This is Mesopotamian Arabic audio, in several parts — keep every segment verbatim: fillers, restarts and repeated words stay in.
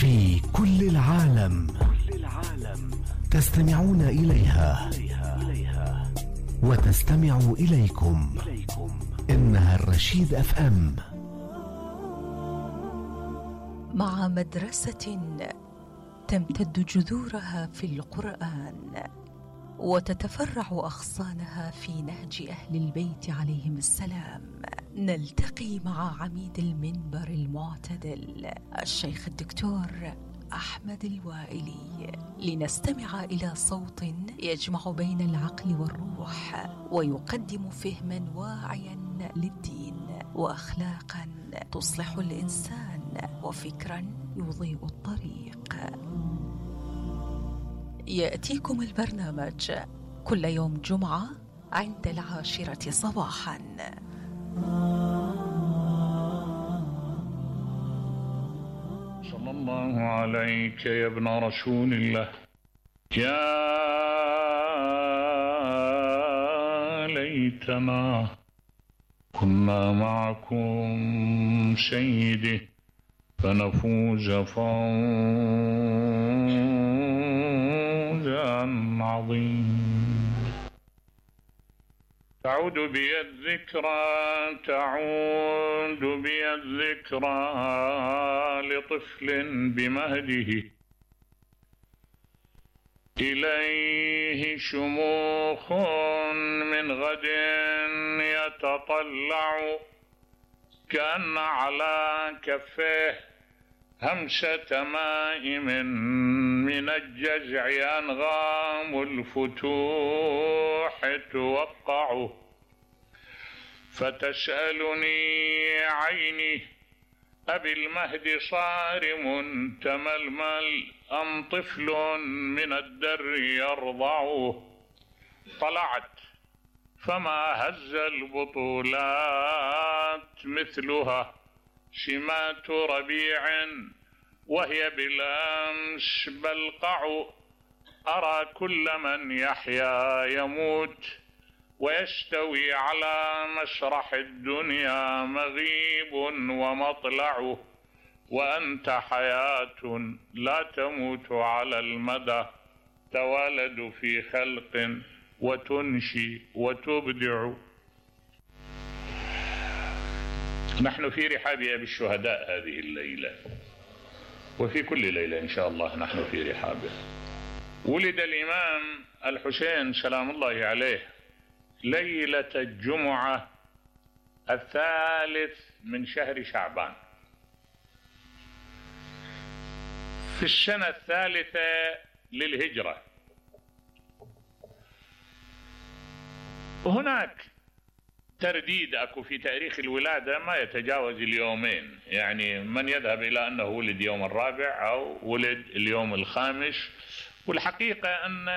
في كل العالم تستمعون إليها وتستمع إليكم. إنها الرشيد أف أم. مع مدرسة تمتد جذورها في القرآن وتتفرع أغصانها في نهج أهل البيت عليهم السلام، نلتقي مع عميد المنبر المعتدل الشيخ الدكتور أحمد الوائلي لنستمع إلى صوت يجمع بين العقل والروح ويقدم فهما واعيا للدين وأخلاقا تصلح الإنسان وفكرا يضيء الطريق. يأتيكم البرنامج كل يوم جمعة عند العاشرة صباحا. صلى الله عليك يا ابن رسول الله، يا ليتنا كنا معكم سيدي فنفوز فوزا عظيما. تعود بي الذكرى تعود بي الذكرى لطفل بمهده، إليه شموخ من غد يتطلع، كأن على كفيه همسة ماء من الجزع أنغام الفتوح توقع، فتسألني عيني أبي المهد صارم تململ أم طفل من الدر يرضع؟ طلعت فما هز البطولات مثلها، شمات ربيع وهي بالأمس بلقع، أرى كل من يحيا يموت ويستوي على مسرح الدنيا مغيب ومطلع، وأنت حياة لا تموت على المدى، توالد في خلق وتنشي وتبدع. نحن في رحاب أبي الشهداء هذه الليلة، وفي كل ليلة إن شاء الله نحن في رحابه. ولد الإمام الحسين سلام الله عليه ليلة الجمعة الثالث من شهر شعبان في السنة الثالثة للهجرة. هناك ترديد أكو في تاريخ الولادة ما يتجاوز اليومين، يعني من يذهب إلى أنه ولد يوم الرابع أو ولد اليوم الخامس، والحقيقة أن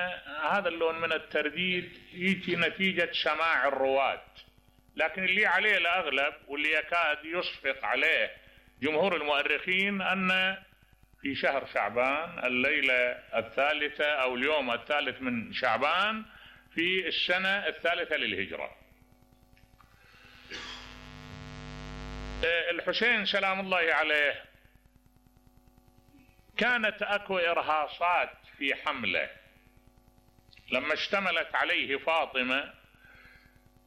هذا اللون من الترديد يجي نتيجة سماع الرواة، لكن اللي عليه الأغلب واللي يكاد يصفق عليه جمهور المؤرخين أن في شهر شعبان الليلة الثالثة أو اليوم الثالث من شعبان في السنة الثالثة للهجرة. الحسين سلام الله عليه كانت أكو إرهاصات في حمله لما اشتملت عليه فاطمة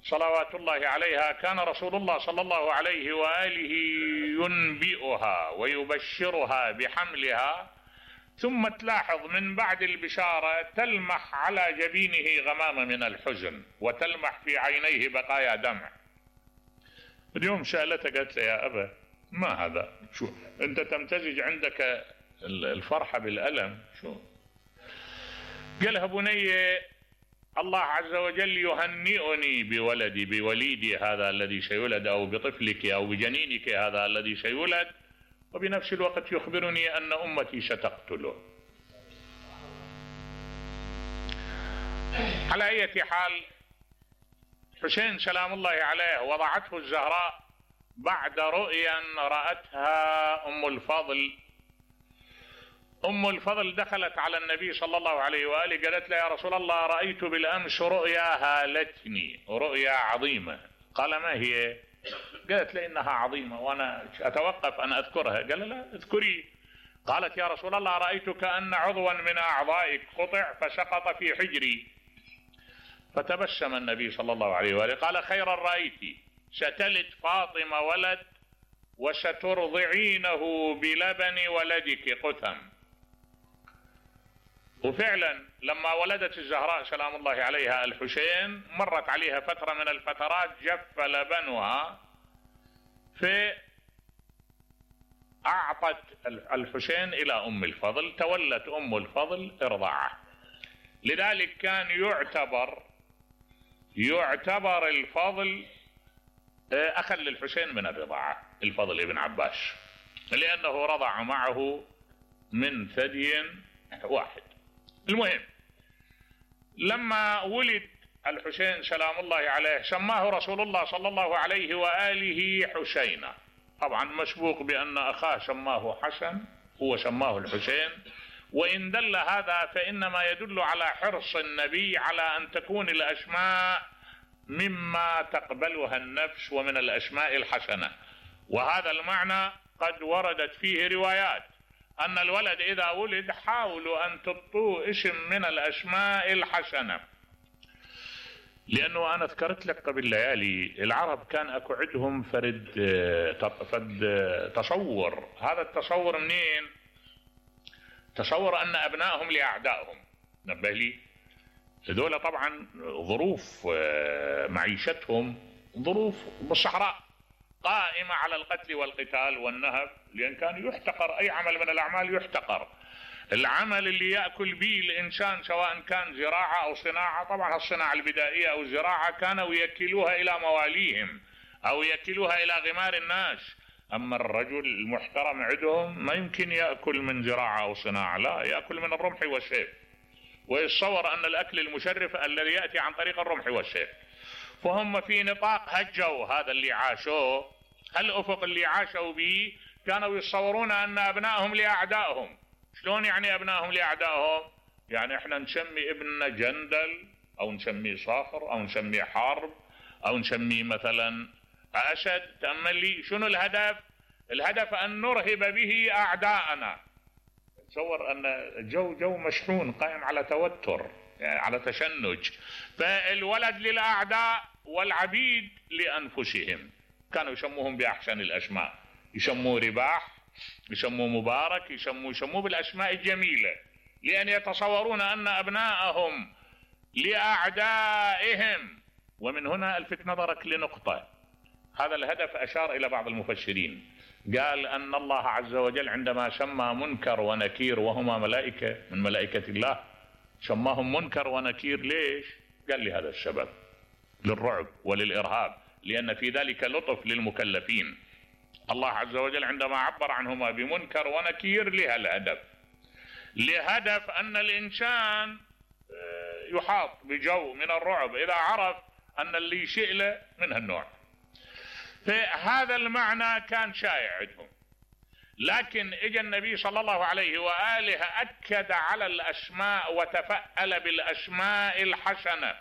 صلوات الله عليها، كان رسول الله صلى الله عليه وآله ينبئها ويبشرها بحملها، ثم تلاحظ من بعد البشارة تلمح على جبينه غمامة من الحزن وتلمح في عينيه بقايا دمع. اليوم سألته قالت له يا أبا ما هذا؟ شو أنت تمتزج عندك الفرحة بالألم؟ شو؟ قالها بني الله عز وجل يهنئني بولدي بوليدي هذا الذي سيولد، أو بطفلك أو بجنينك هذا الذي سيولد، وبنفس الوقت يخبرني أن أمتي ستقتله. على أي حال حسين سلام الله عليه وضعته الزهراء بعد رؤيا رأتها أم الفضل. أم الفضل دخلت على النبي صلى الله عليه وآله قالت له يا رسول الله رأيت بالأمس رؤيا هالتني، رؤيا عظيمة. قال ما هي؟ قالت له إنها عظيمة وأنا أتوقف أن أذكرها. قال لا اذكري. قالت يا رسول الله رأيت كأن عضوا من أعضائك قطع فسقط في حجري. فتبسم النبي صلى الله عليه وآله قال خيرا رأيت، ستلد فاطمة ولد وسترضعينه بلبن ولدك قثم. وفعلا لما ولدت الزهراء سلام الله عليها الحسين مرت عليها فترة من الفترات جف لبنها، فأعطت الحسين إلى أم الفضل، تولت أم الفضل إرضاعه. لذلك كان يعتبر يعتبر الفضل أخا للحسين من الرضاعة، الفضل ابن عباس، لأنه رضع معه من ثدي واحد. المهم لما ولد الحسين سلام الله عليه سماه رسول الله صلى الله عليه وآله حسينا، طبعا مسبوق بأن أخاه سماه حسن، هو سماه الحسين. وإن دل هذا فإنما يدل على حرص النبي على أن تكون الأسماء مما تقبلها النفس ومن الأسماء الحسنة، وهذا المعنى قد وردت فيه روايات أن الولد إذا ولد حاولوا أن تبطوا اسم من الأسماء الحسنة. لأنه أنا ذكرت لك قبل ليالي العرب كان أكو عندهم فرد فرد تصور. هذا التصور منين؟ تصور أن أبنائهم لأعدائهم. نبه لي هذول طبعا ظروف معيشتهم ظروف بالصحراء قائمة على القتل والقتال والنهب، لأن كان يحتقر أي عمل من الأعمال يحتقر. العمل اللي يأكل به الإنسان سواء كان زراعة أو صناعة، طبعا الصناعة البدائية أو الزراعة كانوا يكلوها إلى مواليهم أو يكلوها إلى غمار الناس. أما الرجل المحترم عندهم ما يمكن يأكل من زراعة أو صناعة، لا، يأكل من الرمح والسيف، ويتصور أن الأكل المشرف الذي يأتي عن طريق الرمح والسيف. فهم في نطاق هالجو هذا اللي عاشوه، هالأفق اللي عاشوا به، كانوا يتصورون أن أبنائهم لأعدائهم. شلون يعني أبنائهم لأعدائهم؟ يعني إحنا نسمي ابننا جندل أو نسميه صخر أو نسميه حرب أو نسميه مثلا أسد. تأمل لي شنو الهدف؟ الهدف أن نرهب به أعداءنا. تصور أن جو جو مشحون قائم على توتر، يعني على تشنج. فالولد للأعداء والعبيد لأنفسهم. كانوا يسموهم بأحسن الأسماء، يسموه رباح، يسموه مبارك، يسموه يسموه بالأسماء الجميلة، لأن يتصورون أن أبناءهم لأعدائهم. ومن هنا ألفت نظرك لنقطة، هذا الهدف أشار إلى بعض المفسرين، قال أن الله عز وجل عندما سمى منكر ونكير وهما ملائكة من ملائكة الله، سماهم منكر ونكير ليش؟ قال لي هذا السبب، للرعب وللإرهاب، لأن في ذلك لطف للمكلفين. الله عز وجل عندما عبر عنهما بمنكر ونكير لها الهدف، لهدف أن الإنسان يحاط بجو من الرعب إذا عرف أن اللي يشئ له من هالنوع. فهذا المعنى كان شائع عندهم. لكن اجى النبي صلى الله عليه وآله أكد على الأسماء وتفأل بالأسماء الحسنة.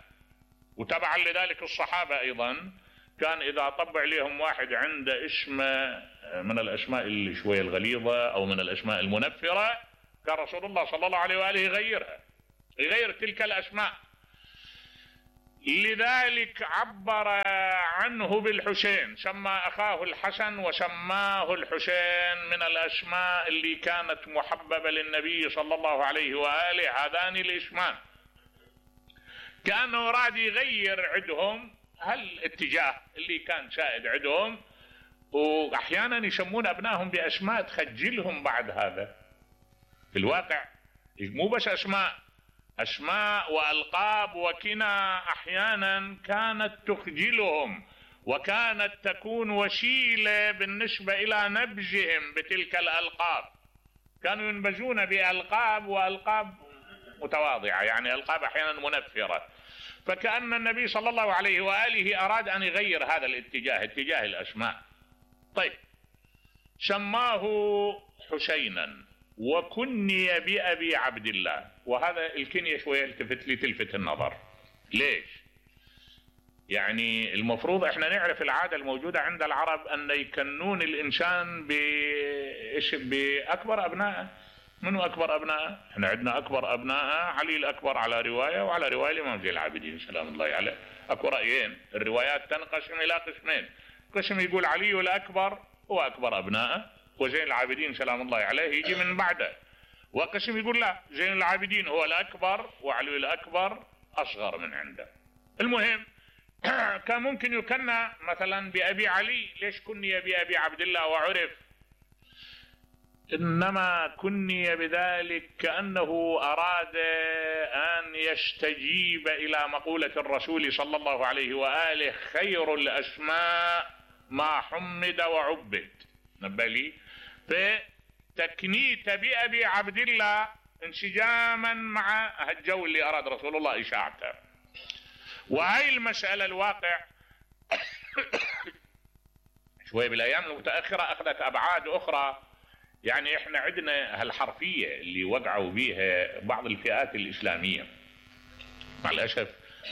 وتبعا لذلك الصحابة أيضا كان إذا طبع لهم واحد عنده اسم من الأسماء اللي شوية الغليظة أو من الأسماء المنفرة، كان رسول الله صلى الله عليه وآله يغيرها، يغير تلك الأسماء. لذلك عبر عنه بالحسين، سمى أخاه الحسن وسماه الحسين من الأسماء اللي كانت محببة للنبي صلى الله عليه وآله، هذان الاسمان. كأنه راد يغير عندهم هالاتجاه اللي كان سائد عندهم، وأحيانا يسمون أبنائهم بأسماء تخجلهم بعد هذا. في الواقع مو بس أسماء، أسماء وألقاب وكنى أحيانا كانت تخجلهم، وكانت تكون وسيلة بالنسبة إلى نبذهم بتلك الألقاب. كانوا ينبذون بألقاب وألقاب متواضعة، يعني ألقاب أحيانا منفرة. فكأن النبي صلى الله عليه وآله أراد أن يغير هذا الاتجاه، اتجاه الأسماء. طيب، سماه حسينا وكني بأبي عبد الله. وهذا الكنية شوية التفت لي تلفت النظر. ليش؟ يعني المفروض احنا نعرف العادة الموجودة عند العرب ان يكنون الانسان بايش باكبر ابنائه. منو اكبر ابنائه؟ احنا عندنا اكبر ابنائه علي الاكبر على رواية، وعلى رواية الامام زين العابدين سلام الله عليه. اكو رأيين، الروايات تنقسم الى قسمين، قسم يقول علي الاكبر هو اكبر ابنائه وزين العابدين سلام الله عليه يجي من بعده، وقسم يقول لا، زين العابدين هو الاكبر وعلي الاكبر اصغر من عنده. المهم كان ممكن يكنى مثلا بأبي علي، ليش كني بأبي عبد الله وعرف؟ إنما كني بذلك كأنه أراد أن يستجيب إلى مقولة الرسول صلى الله عليه وآله: خير الأسماء ما حمد وعبد. نبالي فتكنيت بأبي عبد الله انسجاما مع الجو اللي أراد رسول الله إشاعته. وهي المسألة الواقع شوي بالايام المتاخره اخذت ابعاد اخرى. يعني احنا عندنا هالحرفيه اللي وقعوا بيها بعض الفئات الاسلاميه، مع الاسف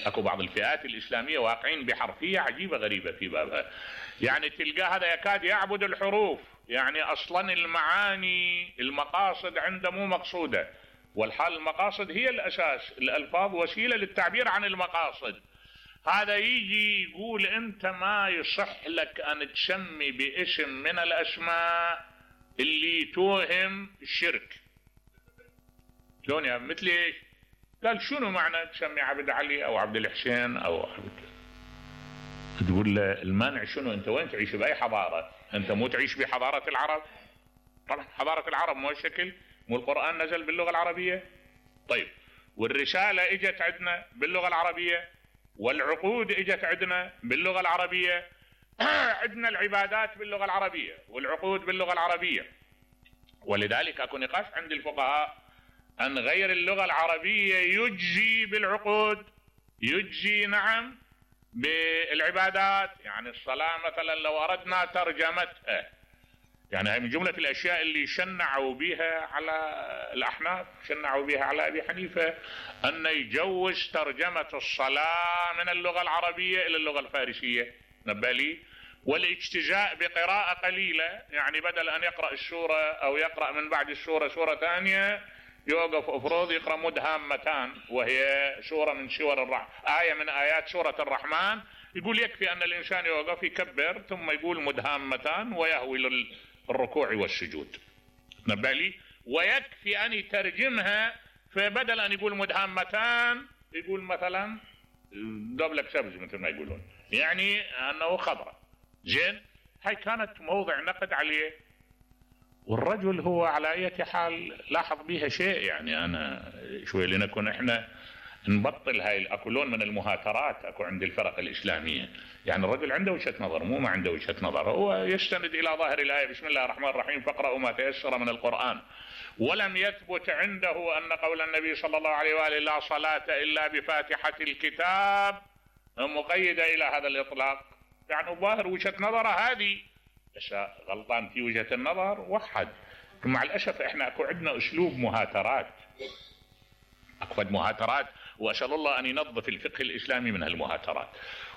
اكو بعض الفئات الاسلاميه واقعين بحرفيه عجيبه غريبه في بابها. يعني تلقاه هذا يكاد يعبد الحروف، يعني اصلا المعاني المقاصد عنده مو مقصوده، والحال المقاصد هي الاساس، الالفاظ وسيله للتعبير عن المقاصد. هذا يجي يقول انت ما يصح لك ان تسمي باسم من الاسماء اللي توهم الشرك. شلون يا مثل ايش؟ قال شنو معنى تسمي عبد علي او عبد الحسين او عبد، تقول له المانع شنو؟ انت وين تعيش؟ باي حضاره؟ انت مو تعيش بحضاره العرب؟ طبعا حضاره العرب مو الشكل، مو القران نزل باللغه العربيه؟ طيب والرساله اجت عندنا باللغه العربيه، والعقود اجت عندنا باللغه العربيه، عندنا العبادات باللغه العربيه والعقود باللغه العربيه. ولذلك اكو نقاش عند الفقهاء ان غير اللغه العربيه يجزي بالعقود، يجزي نعم بالعبادات. يعني الصلاه مثلا لو اردنا ترجمتها، يعني هي من جمله الاشياء اللي شنعوا بها على الاحناف، شنعوا بها على ابي حنيفه، ان يجوز ترجمه الصلاه من اللغه العربيه الى اللغه الفارسيه. نبالي والاجتزاء بقراءه قليله، يعني بدل ان يقرا السوره او يقرا من بعد السوره سوره ثانيه يوقف افروض يقرا مدهامتان، وهي سوره من سور الرحمن، ايه من ايات سوره الرحمن، يقول يكفي ان الانسان يوقف يكبر ثم يقول مدهامتان ويهوي للركوع والسجود. نبالي ويكفي ان يترجمها، فبدل ان يقول مدهامتان يقول مثلا دبلك سبز مثل ما يقولون، يعني انه خضراء. زين، هاي كانت موضع نقد عليه. والرجل هو على اي حال لاحظ بها شيء، يعني انا شوي لنكون احنا نبطل هاي اكو لون من المهاترات اكو عند الفرق الاسلاميه. يعني الرجل عنده وجهه نظر، مو ما عنده وجهه نظر، هو يستند الى ظاهر الايه بسم الله الرحمن الرحيم فاقرأوا ما تيسر من القران. ولم يثبت عنده ان قول النبي صلى الله عليه واله لا صلاه الا بفاتحه الكتاب مقيده الى هذا الاطلاق. يعني ظاهر وجهه نظره هذه، بس غلطان في وجهه النظر وحد. مع الاسف احنا اكو عندنا اسلوب مهاترات، اكو مهاترات، واسال الله ان ينظف الفقه الاسلامي من هالمهاترات.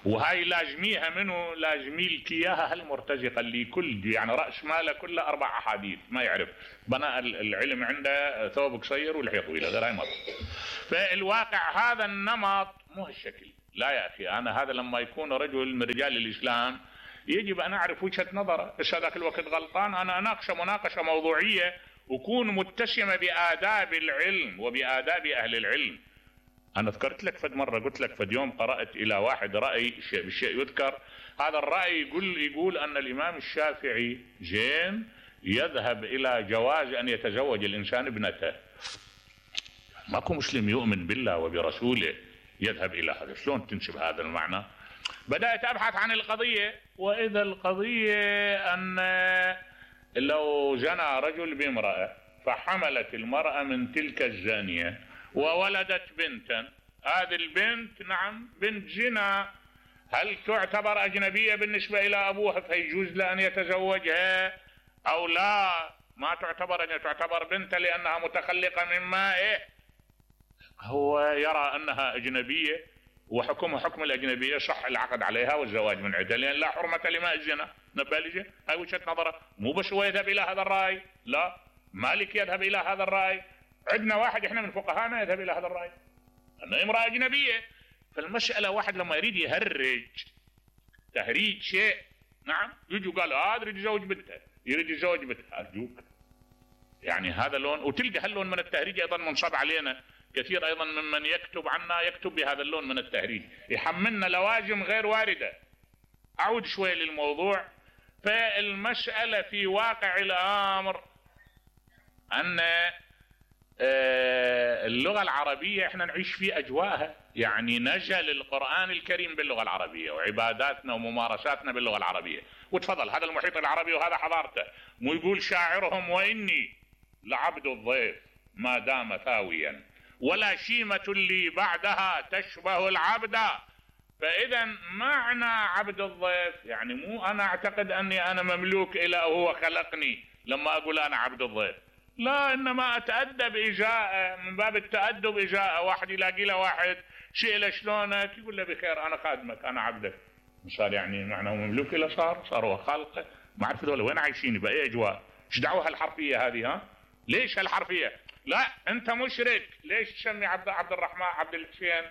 وهاي لازميها منه، لازمي لك اياها هالمرتزقه اللي كل يعني راس ماله كله اربع احاديث ما يعرف، بناء العلم عنده ثوب قصير ولحيه طويله غير هاي مرة. فالواقع هذا النمط مو هالشكل. لا يا اخي، انا هذا لما يكون رجل من رجال الاسلام يجب ان اعرف وجهه نظره، بس هذاك الوقت غلطان انا اناقشه مناقشه موضوعيه وكون متسمه بآداب العلم وبآداب اهل العلم. انا ذكرت لك فد مره، قلت لك فد يوم قرات الى واحد راي شيء بالشيء يذكر، هذا الراي يقول يقول ان الامام الشافعي زين يذهب الى جواز ان يتزوج الانسان ابنته. ماكو مسلم يؤمن بالله وبرسوله يذهب الى هذا، شلون تنسب هذا المعنى؟ بدأت أبحث عن القضية، وإذا القضية أن لو زنى رجل بامرأة فحملت المرأة من تلك الزانية وولدت بنتا، هذه البنت نعم بنت زنا، هل تعتبر أجنبية بالنسبة إلى أبوها فيجوز له أن يتزوجها أو لا؟ ما تعتبر، أن تعتبر بنتا لأنها متخلقة من مائه. هو يرى أنها أجنبية وحكمها حكم الأجنبية، صح العقد عليها والزواج من عدة، لأن لا حرمة لماء الزنا. نبالجة هاي وجهة نظره، مو بس هو يذهب إلى هذا الرأي، لا، مالك يذهب إلى هذا الرأي، عندنا واحد إحنا من فقهانا يذهب إلى هذا الرأي أنه امرأة أجنبية. فالمسألة واحد لما يريد يهرج تهريج شيء، نعم، يجوا قالوا هذا يريد يزوج بنته، يريد يزوج بنته، أرجوك يعني هذا لون. وتلقى هاللون من التهريج أيضا منصب علينا كثير أيضا ممن يكتب عنا، يكتب بهذا اللون من التهريج، يحملنا لوازم غير واردة. أعود شوي للموضوع. فالمسألة في واقع الأمر أن اللغة العربية احنا نعيش في أجواءها، يعني نزل القرآن الكريم باللغة العربية، وعباداتنا وممارساتنا باللغة العربية. وتفضل هذا المحيط العربي وهذا حضارته. مو يقول شاعرهم وإني لعبد الضيف ما دام ثاويا ولا شيمة لي بعدها تشبه العبد. فإذا معنى عبد الضيف يعني مو أنا أعتقد أني أنا مملوك إلى وهو خلقني لما أقول أنا عبد الضيف، لا، إنما أتأدب إجاءه، من باب التأدب إجاءه. واحد يلاقي له واحد شيء له شلونك، يقول له بخير أنا خادمك أنا عبدك، صار يعني معناه مملوك إلى، صار صار هو خالقه. ما أعرف هذول وين عايشين بأي أجواء، إيش دعوة هالحرفية هذه؟ ها ليش هالحرفية؟ لا أنت مشرك، ليش تسمي عبد عبد الرحمن عبد الحسين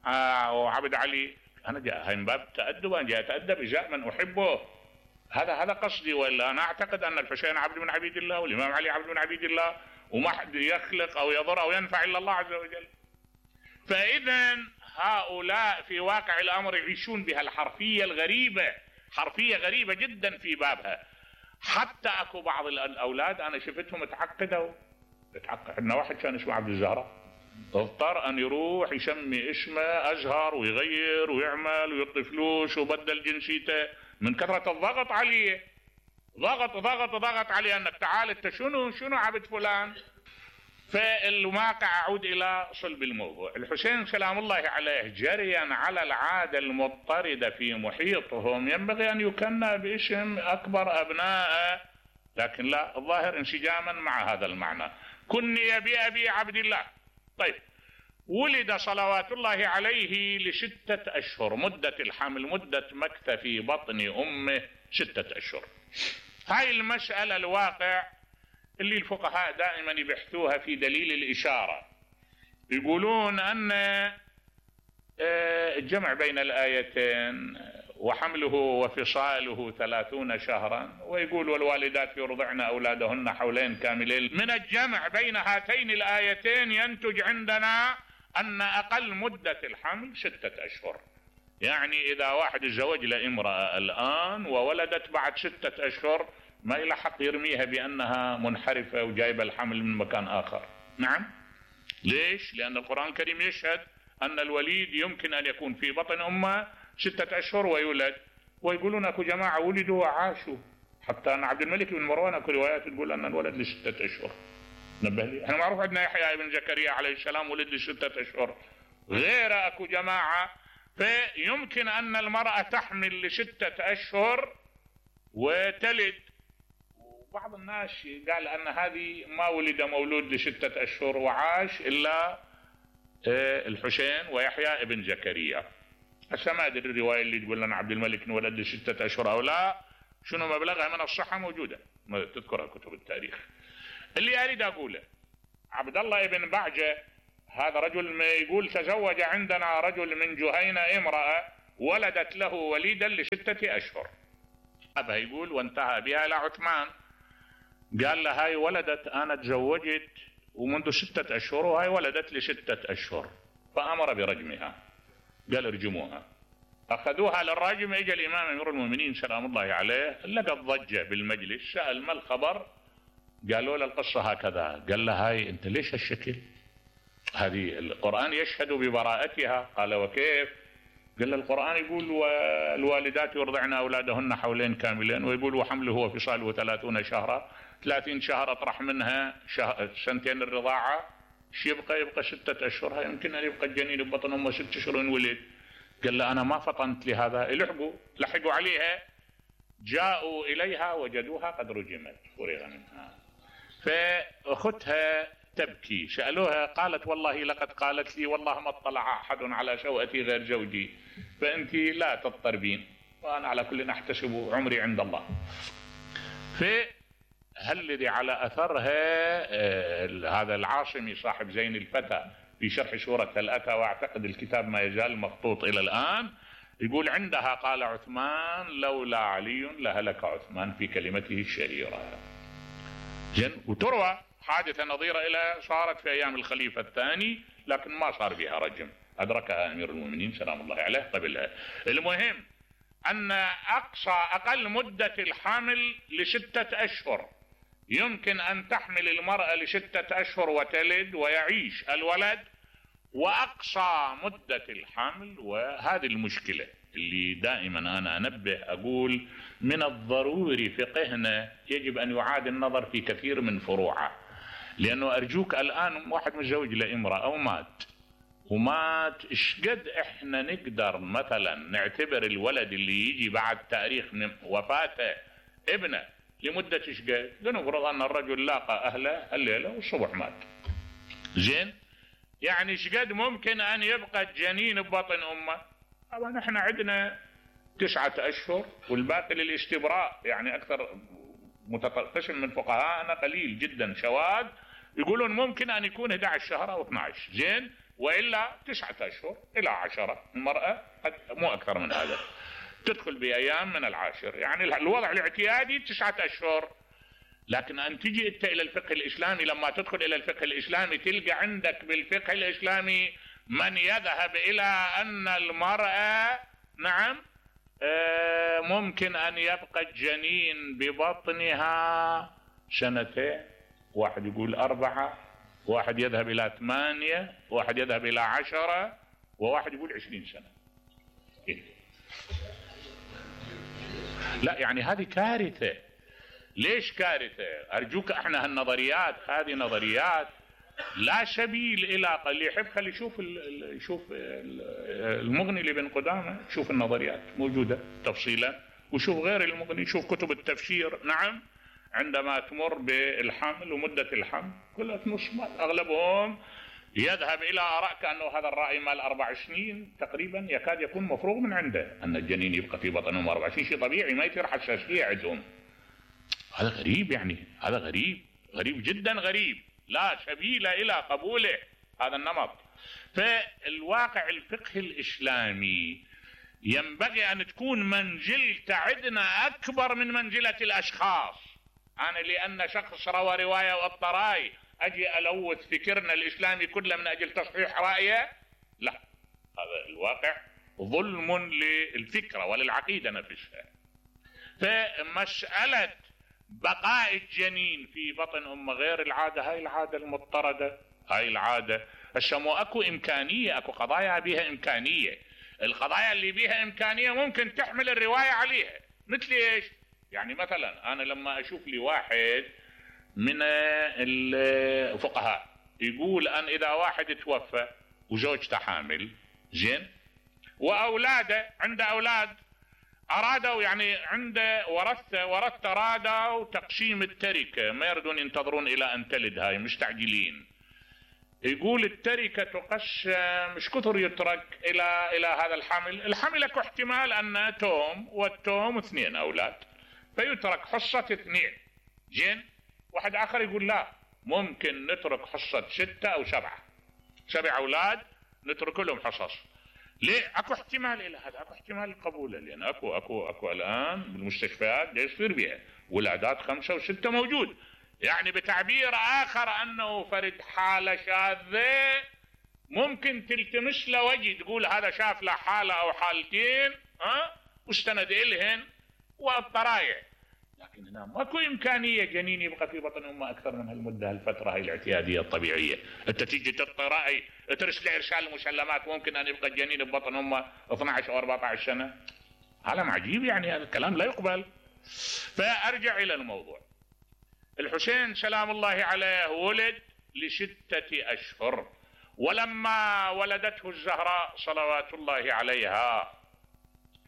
آه وعبد علي؟ أنا جاء هاي من باب التأدب، أنا جاء أتأدب إجاء من أحبه، هذا هذا قصدي. ولا أنا أعتقد أن الحسين عبد من عبيد الله والإمام علي عبد من عبيد الله، وما حد يخلق أو يضر أو ينفع إلا الله عز وجل. فإذا هؤلاء في واقع الأمر يعيشون بها الحرفية الغريبة، حرفية غريبة جدا في بابها. حتى أكو بعض الأولاد أنا شفتهم تعقدوا، تعقد. عندنا واحد كان اسمه عبد الزهراء، اضطر أن يروح يسمي اسمه أزهر ويغير ويعمل ويعطي فلوس وبدل جنسيته من كثرة الضغط عليه. ضغط ضغط ضغط عليه أنك تعال أنت شنو شنو عبد فلان. فالواقع أعود إلى صلب الموضوع. الحسين سلام الله عليه جريا على العادة المضطردة في محيطهم ينبغي أن يكنى باسم أكبر أبنائه، لكن لا، الظاهر انسجاما مع هذا المعنى. كني بأبي عبد الله. طيب، ولد صلوات الله عليه لستة أشهر، مدة الحمل مدة مكث في بطن أمه ستة أشهر. هاي المسألة الواقع اللي الفقهاء دائما يبحثوها في دليل الإشارة. يقولون أن الجمع بين الآيتين وحمله وفصاله ثلاثون شهرا، ويقول والوالدات يرضعن أولادهن حولين كاملين، من الجمع بين هاتين الآيتين ينتج عندنا أن أقل مدة الحمل ستة أشهر. يعني إذا واحد تزوج لامرأة الآن وولدت بعد ستة أشهر ما إلى حق يرميها بأنها منحرفة وجايبة الحمل من مكان آخر. نعم، ليش؟ لأن القرآن الكريم يشهد أن الوليد يمكن أن يكون في بطن أمه ستة أشهر ويولد. ويقولون أكو جماعة ولدوا وعاشوا، حتى أن عبد الملك بن مروان أكو روايات تقول أن الولد لستة أشهر. نبه لي، احنا معروف عندنا يحيى بن زكريا عليه السلام ولد لستة أشهر، غير أكو جماعة. فيمكن أن المرأة تحمل لستة أشهر وتلد. وبعض الناس قال أن هذه ما ولد مولود لستة أشهر وعاش إلا الحسين ويحيى بن زكريا. هسه ما أدري الرواية اللي تقول لنا عبد الملك انولد لستة أشهر أو لا، شنو مبلغها من الصحة موجودة تذكرها كتب التاريخ. اللي أريد أقوله، عبد الله بن بعجة هذا رجل ما يقول تزوج عندنا رجل من جهينة امرأة ولدت له وليدا لستة أشهر. أبها يقول وانتهى بها إلى عثمان، قال له هاي ولدت أنا تزوجت ومنذ ستة أشهر وهاي ولدت لستة أشهر، فأمر برجمها، قال ارجموها. أخذوها للرجم. إجا الإمام أمير المؤمنين سلام الله عليه لقى ضجة بالمجلس، سأل ما الخبر؟ قالوا له القصة هكذا. قال له هاي أنت ليش هالشكل؟ هذه القرآن يشهد ببراءتها. قال وكيف؟ قال له القرآن يقول والوالدات يرضعن أولادهن حولين كاملين، ويقول وحمله وفصاله ثلاثون شهرا، ثلاثين شهر أطرح منها شهر سنتين الرضاعة، شو يبقى؟ يبقى ستة أشهر. يمكن أن يبقى الجنين ببطن أمه ست أشهر ولد. قال له أنا ما فطنت لهذا. لحقوا لحقوا عليها، جاءوا إليها وجدوها قد رجمت فرغ منها. فأختها تبكي. سألوها قالت والله لقد قالت لي والله ما اطلع أحد على شوأتي غير زوجي، فأنت لا تضطربين، وأنا على كل أحتسب عمري عند الله. فهالذي على أثرها هذا العاصمي صاحب زين الفتى في شرح سورة هل أتى، وأعتقد الكتاب ما يزال مخطوط إلى الآن، يقول عندها قال عثمان لولا علي لهلك عثمان في كلمته الشهيرة. زين. وتروى حادثة نظيرة إلى صارت في أيام الخليفة الثاني، لكن ما صار بها رجم، أدركها أمير المؤمنين سلام الله عليه قبلها. المهم أن أقصى أقل مدة الحمل لستة أشهر، يمكن أن تحمل المرأة لستة أشهر وتلد ويعيش الولد، وأقصى مدة الحمل. وهذه المشكلة اللي دائما أنا أنبه أقول من الضروري فقهنا يجب أن يعاد النظر في كثير من فروعه، لأنه أرجوك الآن واحد متزوج لامرأة أو مات ومات، إيش قد إحنا نقدر مثلا نعتبر الولد اللي يجي بعد تاريخ وفاته ابنه لمدة إيش قد؟ لنفرض أن الرجل لاقى أهله الليلة والصبح مات. زين. يعني إيش قد ممكن أن يبقى الجنين ببطن أمه؟ طبعا إحنا عندنا تسعة أشهر والباقي للاستبراء، يعني أكثر متقشم من فقهاءنا قليل جدا شواذ يقولون ممكن أن يكون أحد عشر شهر أو اثني عشر. زين. وإلا تسعة أشهر إلى عشرة، المرأة مو أكثر من هذا تدخل بأيام من العاشر، يعني الوضع الاعتيادي تسعة أشهر. لكن أن تجي أنت إلى الفقه الإسلامي، لما تدخل إلى الفقه الإسلامي تلقى عندك بالفقه الإسلامي من يذهب إلى أن المرأة نعم ممكن أن يبقى الجنين ببطنها سنتين، واحد يقول أربعة، واحد يذهب إلى ثمانية، واحد يذهب إلى عشرة، وواحد يقول عشرين سنة. إيه؟ لا يعني هذه كارثة. ليش كارثة؟ أرجوك احنا هالنظريات هذه نظريات لا سبيل إلى، اللي يحب خلي يشوف يشوف المغني لابن قدامة، شوف النظريات موجودة تفصيلا، وشوف غير المغني، شوف كتب التفسير. نعم. عندما تمر بالحمل ومدة الحمل كلها نصمات، أغلبهم يذهب إلى آراء كأنه هذا الرأي مال أربع سنين تقريبا يكاد يكون مفروغ من عنده، أن الجنين يبقى في بطنهم أربع سنين، شيء طبيعي ما يصير حساسية عندهم. هذا غريب، يعني هذا غريب غريب جدا غريب، لا سبيل إلى قبوله هذا النمط. فالواقع الفقه الإسلامي ينبغي أن تكون منزلته عندنا أكبر من منزلة الأشخاص. أنا لأن شخص روى رواية والطراي أجي ألوث فكرنا الإسلامي كله من أجل تصحيح رأيه؟ لا، هذا الواقع ظلم للفكرة وللعقيدة نفسها. فمسألة بقاء الجنين في بطن أمه غير العادة، هاي العادة المضطردة، هاي العادة هسه مو أكو إمكانية، أكو قضايا بيها إمكانية. القضايا اللي بيها إمكانية ممكن تحمل الرواية عليها، مثل إيش؟ يعني مثلا أنا لما أشوف لي واحد من الفقهاء يقول أن إذا واحد توفى وزوجته حامل، زين، وأولاده عنده أولاد أرادوا يعني عنده ورثة ورثة أرادوا تقسيم التركة، ما يردون ينتظرون إلى أن تلد، هاي مستعجلين. يقول التركة تقسم، مش كثر يترك إلى إلى هذا الحمل، الحمل اكو احتمال أن توم والتوم اثنين أولاد، فيترك حصة اثنين، زين. واحد آخر يقول لا، ممكن نترك حصة ستة أو سبعة، سبع أولاد نترك لهم حصص. ليه؟ اكو احتمال الى هذا، اكو احتمال قبوله، لان اكو اكو اكو الان بالمستشفيات دا يصير بها ولادات خمسه وسته موجود. يعني بتعبير اخر انه فرد حاله شاذه ممكن تلتمس له وجه، تقول هذا شاف له حاله او حالتين ها واستند الهن والطرايع، لكن هنا ماكو امكانيه جنين يبقى في بطن امه اكثر من هالمده، هالفتره هاي الاعتياديه الطبيعيه. انت تيجي تطرأي ترسل ارسال المسلمات ممكن ان يبقى الجنين ببطن امه اثني عشر او أربعة عشر سنه، كلام عجيب، يعني هذا الكلام لا يقبل. فارجع الى الموضوع. الحسين سلام الله عليه ولد لستة اشهر، ولما ولدته الزهراء صلوات الله عليها